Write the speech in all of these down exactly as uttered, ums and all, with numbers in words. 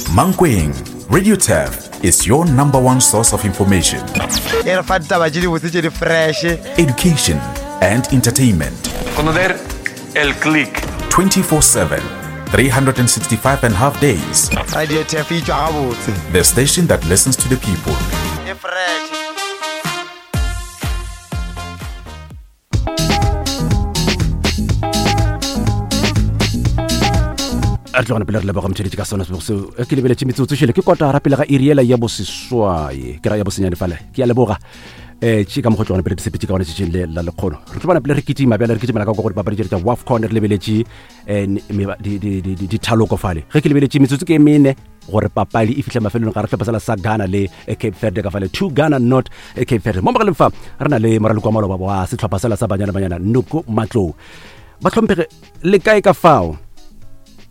Mankweng, Radio Turf is your number one source of information. E re fa ditaba tše dibotse tše di fresh. Education and entertainment. Conocer el click. twenty-four seven, three hundred sixty-five and a half days. Radio Turf e tšwa gabotse. The station that listens to the people. E fresh. A tlogana pele re leboga motšheletše ka sona sebego seo. Ke lebeletše metsotso šele ke kotara pele ga iri yela ya boseswai, ke ra ya bosenyane fale. Ke a leboga. Eh, tše ka mokgwa tlogana pele di sepetše ka gona tšatšing le la lekgono. Re tlo bona pele re kitima bjale, re kitimela ka go gore dipapadi tše tša WAFCON re lebeletše, eh, dithaloko fale. Ge ke lebeletše metsotso ke e mene gore papadi e fihle mafelelong ga re hlopha sela sa Ghana le Cape Verde ka fale, two Ghana not Cape Verde. Mo mogaleng fa re na le moraloko wa maloba wa sehlopha sela sa Banyana Banyana, Noko Matlou. Ba hlomphege le kae ka fao?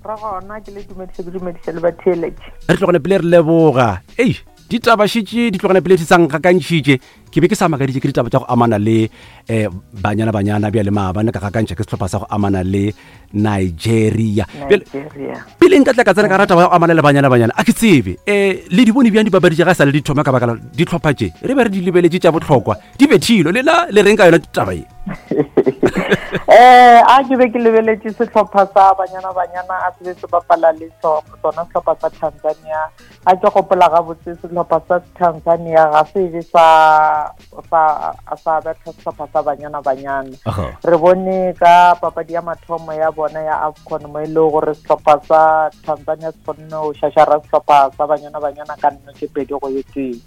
Ra gona ke le dumedise, ke dumedise le batheeletši. Re tlogane pele re leboga. Ei, ditaba šitše di tlogane pele di sang gakantšhitše. Ke be ke sa makaditše ke ditaba tša go amana le eh Banyana Banyana bjale maabane ka gakantšha ke sehlopha sa go amana le Nigeria. Nigeria. Pele nka tla ka tsena ka rata go amana le Banyana Banyana, a ke tsebe. Eh le di bone bjang dipapadi tša ga sa le di thoma ka baka la dihlopha tše re be re di lebeletše tša bohlokwa. Di bethilo le la le reng ka yona taba ye? Eh a ke be ke lebeletše sehlopha sa Banyana Banyana a se be se bapala le sona sehlopha sa Tanzania. A ke gopola gabotse sehlopha sa Tanzania ga se be sa sa sa betha sehlopha sa Banyana Banyana. Re bone ka papadi ya mathomo ya bona ya AFCON mo e le gore sehlopha sa Tanzania se kgonne go šašara sehlopha sa Banyana Banyana ka nno tše pedi go ye tee.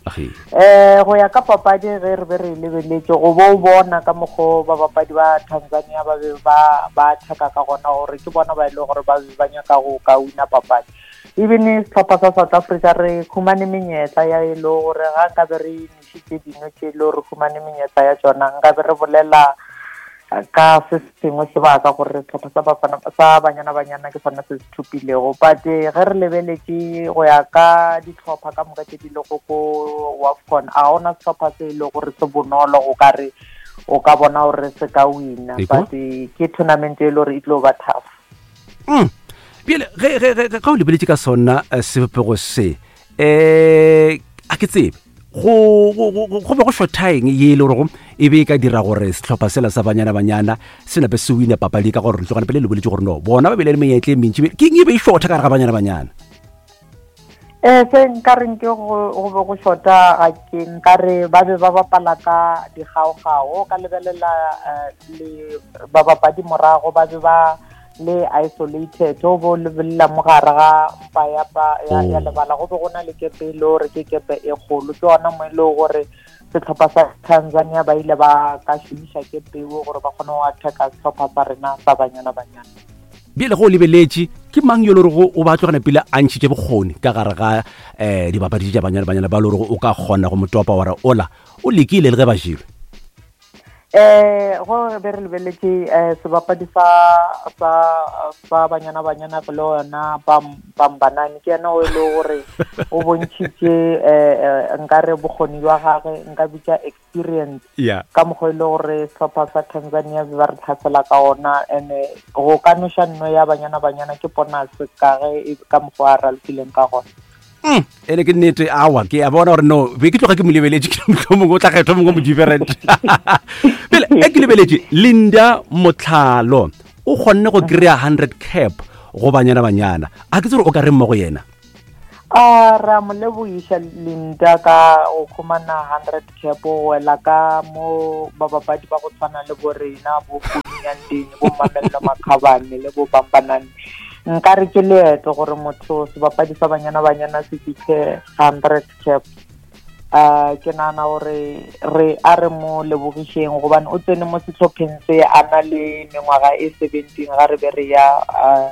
Eh go ya ka papadi ge re be re lebeletše go bo bona ka mokgo ba bapadi ba Tanzania ba be ba ba attack-a ka gona gore ke bona ba e le gore ba be ba nyaka go ka wina papadi. Even sehlopha sa South Africa re khumane menyetla ya e le gore ga nkabe re nešitše dino tše e le gore khumane menyetla ya tšona, nkabe re bolela ka se sengwe sebaka gore sehlopha sa Bafana sa Banyana Banyana ke sona se se thupilego. But ge re lebeletše go ya ka dihlopha ka moka tše di lego ko WAFCON, a gona sehlopha se e le gore se bonolo go ka re o ka bona gore se ka wina, but ke tournament e le gore e tlo ba tough. Mm. Bjale ge ge ge ga o lebeletše ka sona sebopego se, eh a ke tsebe go go go be go shortang ye le gore e be e ka dira gore sehlopha sela sa Banyana Banyana se nape se wina papadi ka gore tlogana pele le boletše gore no bona ba bile le menyetla e mentši, ke eng e be e shorta ka gare ga Banyana Banyana? Eh se nka reng ke go go be go shorta ga ke nka re ba be ba bapala ka dikgaokgao, ka lebelela le ba bapadi morago ba be ba le isolated, o bo lebelela mo gare ga mpa ya ya lebala go be go na le kepe e le gore ke kepe e kgolo. Ke yona mo e le gore sehlopha sa Tanzania ba ile ba ka šomiša kepe eo gore ba kgone go attack-a sehlopha sa rena sa Banyana Banyana. Bjale go lebeletše ke mang yo le gore o ba tlogana pele a ntšhitše bokgoni ka gare ga eh dibapadi tša Banyana Banyana ba le gore o ka kgona go mo topa wa re ola o lekile le ge ba jelwe? Eh go be re lebeletše eh sebapadi sa sa sa Banyana Banyana go le yona Bambanani, ke yena o e le gore o bontšhitše eh nka re bokgoni bja gagwe, nka bitša experience ka mokgwa e le gore sehlopha sa Tanzania be ba re tlhasela ka ona. And go ka noša nno ya Banyana Banyana ke bonus ka ge ka mokgwa a ralokileng ka gona. Mm, ene ke nnete awa ke a bona gore no be ke tloga ke mo lebeletše ke mohlomongwe o tla kgetha mongwe mo different. Pele e ke lebeletše Linda Motlhalo o kgonne go kry-a hundred cap go Banyana Banyana, a ke tsere o ka reng mo go yena? A ra mo lebogiša Linda ka go khumana hundred cap go wela ka mo babapadi ba go tshwana le bo rena bo Kunyandini bo Mamello Makhabane le bo Bambanani. Nka re ke leeto gore motho sebapadi sa Banyana Banyana se fihle hundred cap. Uh, ke nahana gore re a re mo lebogišeng gobane o tsene mo sehlopheng se a na le mengwaga e seventeen ga re be re ya uh,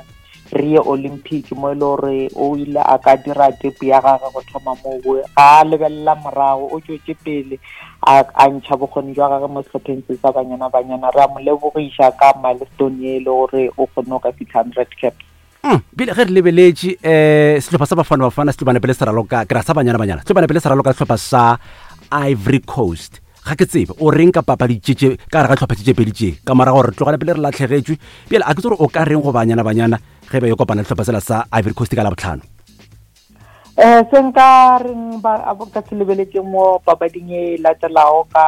re ye Olympic mo e le gore o ile a ka dira tepo ya gagwe go thoma moo, ga a lebelela morago o tšwetše pele a ntšha bokgoni jwa gagwe mo sehlopheng se sa Banyana Banyana. Re a mo lebogiša ka milestone ye e le gore o kgonne go ka fitlha hundred cap. Mm, pele ge re lebeletše eh sehlopha sa Bafana Bafana se tlobane pele se raloka ke ra sa Banyana Banyana se tlobane pele se raloka sehlopha sa Ivory Coast. Ga ke tsebe o reng ka papadi tše tše ka gare ga tlhopha tše pedi tše ka morago gore tlogana pele re latlhegetšwe. Bjale a ke tsore o ka reng go Banyana Banyana ge ba yo kopana le sehlopha sela sa Ivory Coast ka Labohlano? Eh se nka reng ba ka se lebeletse mo papading e latelago ka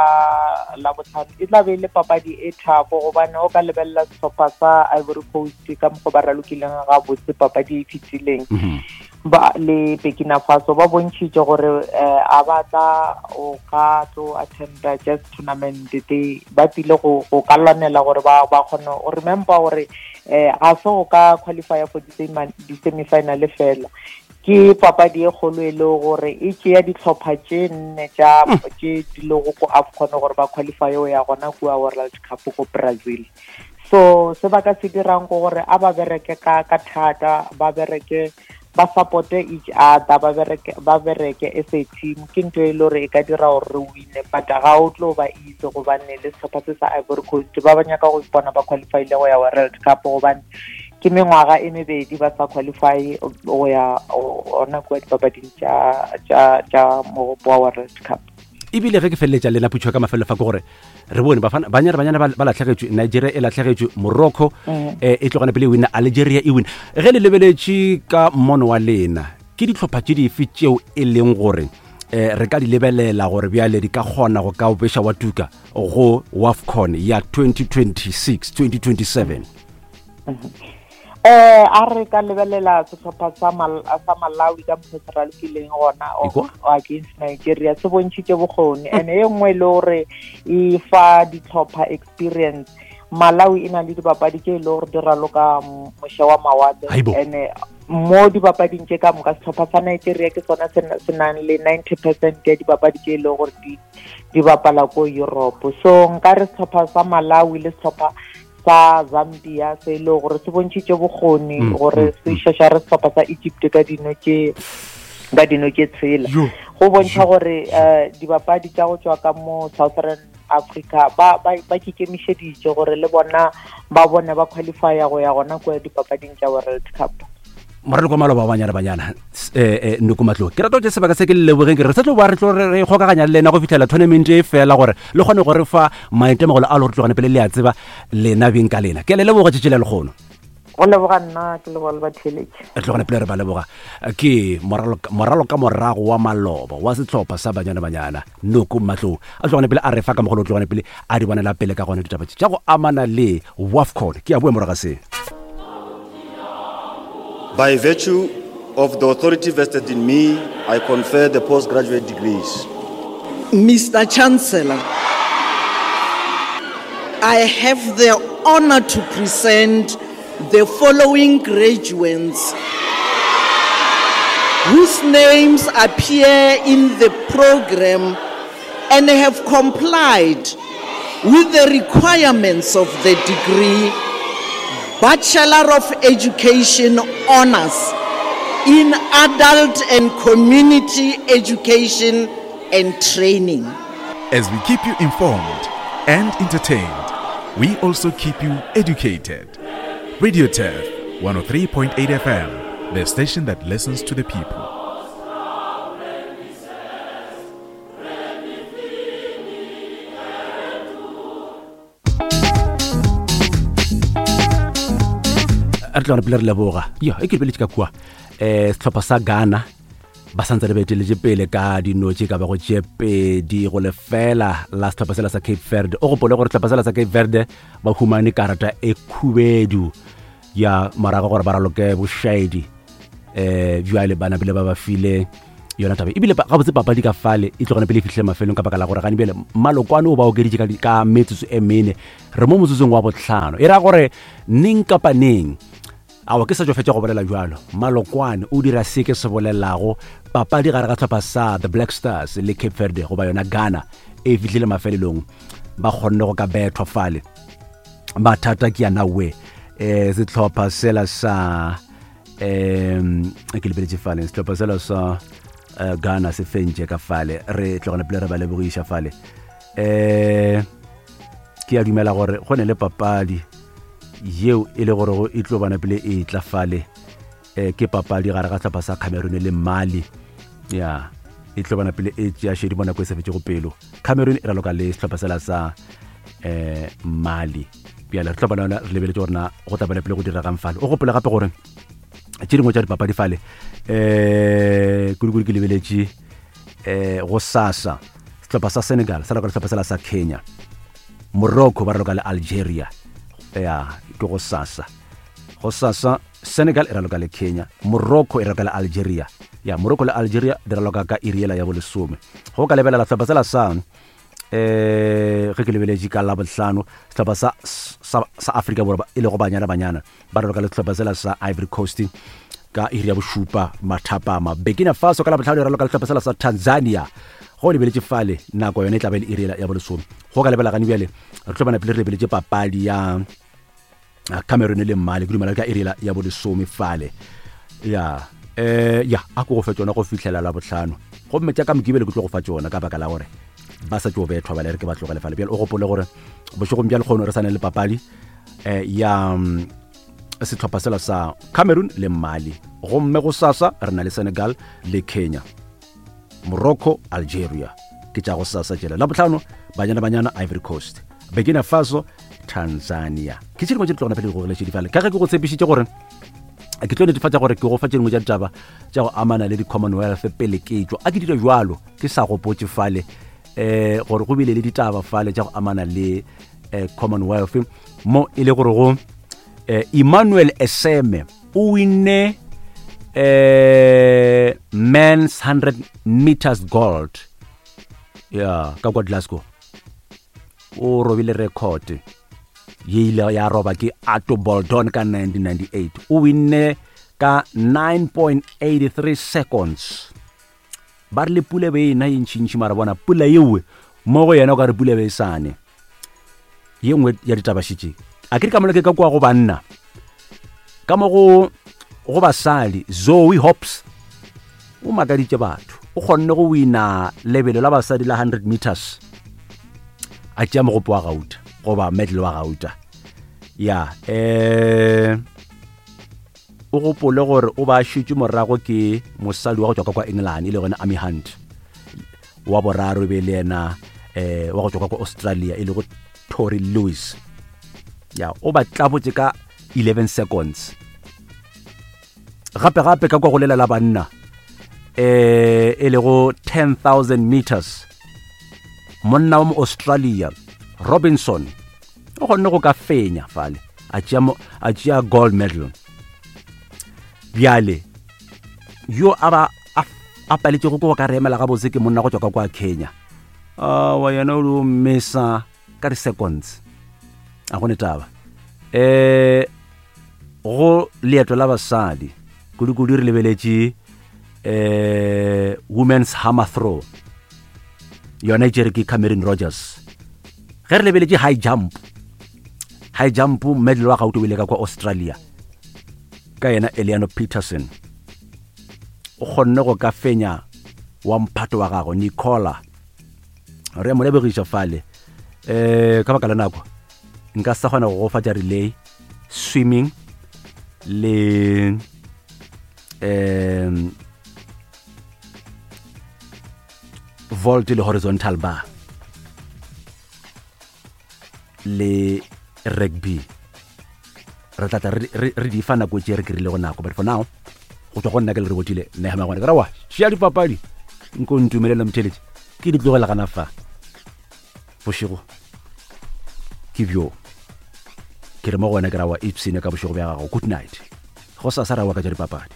Labohlano e tla be e le papadi e thafo gobane o ka lebelela sehlopha sa Ivory Coast ka mokgwa ba ralokileng gabotse papadi e fetileng ba le Burkina Faso ba bontšhitše gore a ba tla o ka tlo attenda just tournament te ba tlile go go ka lwanela gore ba ba kgone o remember gore eh ga se go ka qualify for di semi-final fela ke papadi e kgolo e le gore e tšea dihlopha tše nne tša tše di lego ko AFCON gore ba qualify o ya gona kua World Cup ko Brazil. So se ba ka se dirang go gore a ba bereke ka ka thata, ba bereke ba supporte each other, ba bereke ba bereke as a team. Ke ntho e le gore e ka dira gore re wine, but ga o tlo ba easy gobane le sehlopha se sa Ivory Coast ba ba nyaka go ipona ba qualifyile go ya World Cup gobane ke mengwaga e mebedi ba sa qualify go ya ona kua dipapading tša tša tša mogopo wa World Cup. Ebile ge ke feleletša lena putšo ka mafelo fa ke gore re bone bafana banyana banyana ba latlhegetšwe, Nigeria e latlhegetšwe, Morocco e tlogana pele e wina, Algeria e wina. Ge le lebeletše ka mmono wa lena, ke dihlopha tše dife tšeo e leng gore re ka di lebelela gore bjale di ka kgona go ka opeša wa tuka go WAFCON ya twenty twenty-six twenty twenty-seven? Eh a re ka lebelela sehlopha sa Mal sa Malawi ka mokgwa se ralokileng gona against Nigeria se bontšhitše bokgoni, and e nngwe e le gore e fa dihlopha experience. Malawi e na le dibapadi tše e le gore di raloka moše wa mawatle, and mo dibapading tše ka moka sehlopha sa Nigeria ke sona se nang le ninety percent ya dibapadi tše e le gore di di bapala ko Europe. So nka re sehlopha sa Malawi le sehlopha sa Zambia se le gore se bontšhitše bokgoni gore se šašare sehlopha sa Egypt ka dino tše ka dino tše tshela, go bontšha gore dibapadi tša go tšwa ka mo Southern Africa ba ba ba ikemišeditše gore le bona ba bone ba qualify go ya gona kwa dipapading tša World Cup. Moralo kwa maloba wa banyana banyana eh Noko Matlou, ke rata go tše sebaka se ke le lebogeng ke re se tlo ba re tlo re kgokaganya le lena go fihlela tournament e fela gore le kgone go re fa maitemogelo a le gore tlogane pele le a tseba lena beng ka lena. Ke a le leboga tšatši la lekgono. Go leboga nna, ke leboga le batheeletši. Re tlogane pele re ba leboga ke moralo moralo ka morago wa maloba wa sehlopha sa Banyana Banyana Noko Matlou a tlogane pele a re fa ka mogolo tlogane pele a di bonela pele ka gona ditaba tša go amana le WAFCON. Ke a boe morago se. By virtue of the authority vested in me, I confer the postgraduate degrees. Mister Chancellor, I have the honor to present the following graduates whose names appear in the program and have complied with the requirements of the degree Bachelor of Education Honors in Adult and Community Education and Training. As we keep you informed and entertained, we also keep you educated. Radio Turf one oh three point eight F M, the station that listens to the people. Re tlo re pele re leboga yo e ke lebeletše ka kua eh sehlopha sa Ghana ba santse le beteletše pele ka dino tše ka bago tše pedi go lefela la sehlopha sela sa Cape Verde. O gopole gore sehlopha sela sa Cape Verde ba humane karata e khubedu ya morago gore ba raloke bošaedi eh bjale bana bile ba ba file yona taba ebile gabotse papadi ka fale e tlogane pele e fihlile mafelong ka baka la gore gane bjale malokwane o ba okeditše ka, ka metsotso e mene re mo motsotsong wa botlhano e ra gore neng kapa neng awa ke sa tšo fetša go bolela bjalo malokwane o dira se ke se bolelago papadi gare ga tlhopha sa the Black Stars le Cape Verde goba yona Ghana e fihlile mafelelong ba kgonne go ka bethwa fale mathata ke yana we eh sehlopha sela sa um ke lebeletše fale sehlopha sela sa uh, Ghana se fentše ka fale re tlogane pele re ba lebogiša fale eh ke a dumela gore go ne le papadi yeo e le gore e tlo bana pele e tla fale eh ke papadi gare ga sehlopha sa Cameroon le Mali ya e tlo bana pele e tšea šedi mo nako e sa fetšego pelo Cameroon e raloka le sehlopha sela sa eh Mali bjale re tlo bona re lebeletše gore na go tla bana pele go diregang fale o gopole gape gore Tše dingwe tša dipapadi fale um kudu-kudu ke lebeletše um go sasa sehlopha sa Senegal sa raloka le sehlopha sela sa Kenya, Morocco ba raloka le Algeria. Ya ke go sasa, go sasa Senegal e raloka le Kenya, Morocco e raloka le Algeria. Ya Morocco le Algeria di raloka ka iri yela ya bolesome. Go ka lebelela sehlopha sela sa um ge ke lebeletše ka Labohlano, sehlopha sa, sa, sa Afrika Borwa e lego Banyana Banyana ba raloka le sehlopha sela sa Ivory Coast ka iri ya bošupa mathapama. Burkina Faso ka Labohlano e raloka le sehlopha sela sa Tanzania. Go lebeletše fale nako yone e tla be le iri ya bolesome. Go ka lebela gane bjale re tlo bana pele re lebeletše papadi ya Cameroon le Mali, ke dumela ka iri ya bolesome fale. Ya eh ya a ko go fe tsona go fihlela la bohlano, gomme tša ka Mokibelo ke tlo go fa tsona ka baka la gore ba sa tšo bethwa bale, re ke ba tlogele fale. Bjale o gopole gore bošegong bja lekgono re sa ne le papadi eh ya sehlopha sela sa Cameroon le Mali, gomme go sasa re na le Senegal le Kenya, Morocco, Algeria ke tša go sasa tšela. La bohlano Banyana Banyana Ivory Coast, Burkina Faso Tanzania. Ke tše dingwe tše di tlogona pele go gogeletše difale, ka ge ke go tshepišitše gore ke tlo netefatša gore ke go fa tše dingwe tša ditaba tša go amana le di-Commonwealth pele ke tšwa. A ke dire jwalo ke sa gopotše fale um gore go bile le ditaba fale tša go amana le um Commonwealth mo e le gore go um Emmanuel Eseme o winne um men's hundred meters gold ya ka kwa Glasgow. O robile record ye ile ya roba ke Ato Boldon ka nineteen ninety-eight. O winne ka nine point eight three seconds. Ba re le pula be ena e ntšhintšhi, mara bona pula yewe mo go yena o ka re pula be e sane. Ye nngwe ya ditaba šitše a ke re ka mola ke ka kwa go banna, ka mo go go basadi Zoe Hobbs o makaditše batho, o kgonne go wina lebelo la basadi la hundred meters, a tšea mogopo wa gauta goba medal wa gauta. Ya eh o gopole gore o ba šetše morago ke mosadi wa go tšwa ka kwa England e le gona Amy Hunt, wa boraro be le yena eh wa go tšwa ka kwa Australia e le go Tori Lewis. Ya o ba tlabotše ka eleven seconds. Gape gape ka kwa go lela la banna eh e le go ten thousand meters, monna wa mo Australia Robinson o kgonne go ka fenya fale, a tšea a tšea gold medal. Bjale yo a ba a paletšego ke go ka re emela gabotse ke monna go tšwa ka kwa Kenya, a wa yena o mesa ka di-seconds. A gone taba eh go leeto la basadi kudu-kudu re lebeletše eh women's hammer throw, yona e tšere ke Cameron Rogers. Ge re lebeletše high jump, high jump medal wa gauta o ile ka kwa Australia ka yena Eliano Peterson, o kgonne go ka fenya wa mphato wa gagwe Nicola. Re mo lebogiša fale eh ka baka la nako nka sa kgona go go fa tša relay, swimming le um vault le horizontal bar le rugby. Re tla tla re di fa nako tše re kry-ilego nako, but for now go tswa go nna ke le re botile nna ga magwane ka ra wa šia dipapadi nko ntumelela motheletše ke di tlogela gana fa bošego ke bjo ke re mo go wena ke ra wa ipsene ka bošego bja gago. Good night, go sasa ra wa ka tša dipapadi.